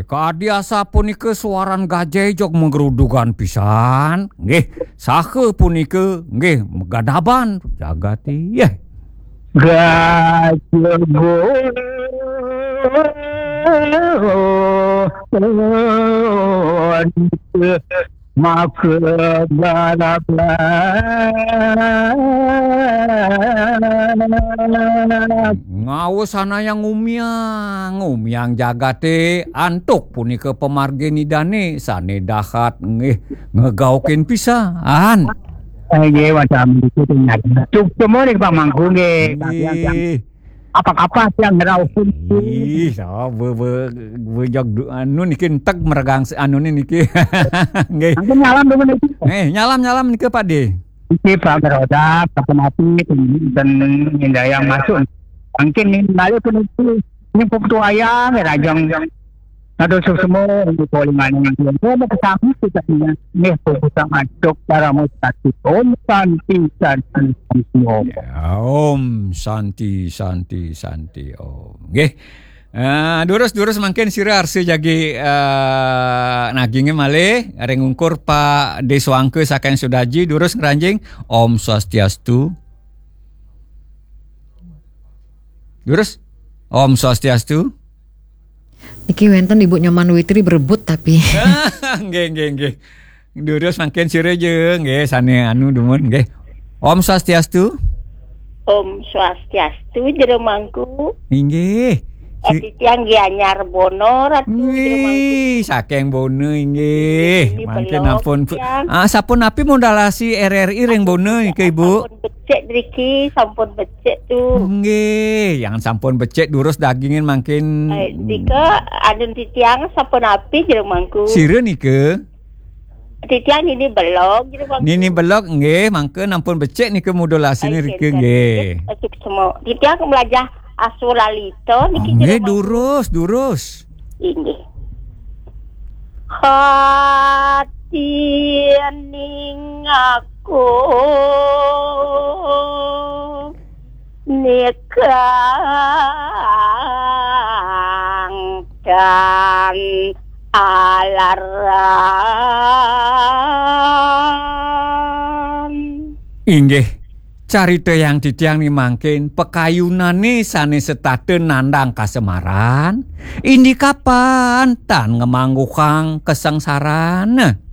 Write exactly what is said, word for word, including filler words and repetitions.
Kadi asapunika suaran gajah jeg magerudugan pisan. Nggih, saha punika nggih magadaban jagaté. Yeh. Gajah maka galaban. Ngawusanayang umiang, umiang jagaté antuk punika pamargin Idané sané dahat nggih ngegaukin pisan. Nggih, wacana itu ternyata. Cukup semua nih Pak Mangku nggih. Nggih. Apa-apa yang ngerauhin. Ih, so, be, be, be, jog du-, anu niki entek meregang se-, anu niki. Nggih. Mungkin nyalam dulu niki. Eh, nyalam-nyalam niki Pak De. Niki Pak Meroda, kapan api, dan indayang masuk. Mungkin ini balik pun itu. Ini pun tuayang, ya, rajang. Aduh, semua untuk polingan yang dia. Dia mau kesambung kita punya. Nih, pun kita masuk, cara mau sakit. Om, santi, santi, santi, Om. Ya, Om Santi, Santi, Santi, Om. Nggih. Eh, durus, durus mangkin sira arsa jagi, eh, nagingé malih ring ungkur Pak Deswangka saking Sudaji, durus ngranjing. Om Swastiastu. Durus. Om Swastiastu. Niki wénten Ibu Nyoman Witri berebut tapi. Nggih, nggih, nggih. Durus mangkin sira ja, nggih, sané anu dumun, nggih. Om Swastiastu. Om Swastiastu, Jero Mangku. Inggih. Si- Ati tiang Gianyar Bono, Ratu, Jero Mangku. Wih, saking Bono, inggih. Ini Mangkin belum, ampun. Tiang. Ah, sapunapi modalasi R R I ring Bono, niki, Ibu? Sampun becik, driki, sampun becik, tuh. Nggih, yang sampun becik, durus dagingin mangkin. Eh, dika, adun titiang, sapunapi, Jero Mangku. Sira nika? Titiang Nini Belog, Jero Mangku. Nini Belog, nggih, mangke nampun becik nika modulasiné. Ai, rika, kinten. Nggih. Becik semua. Titiang melajah Aswalalita niki, Jero Mangku. Nggih, durus, durus. Inggih. Hati ning aku nikang dan alaran. Inggih, carita yang titiang ni mangkin, pakayunané sané setata nandang kasemaran, indi kapan tan ngemangguhang kasangsaran.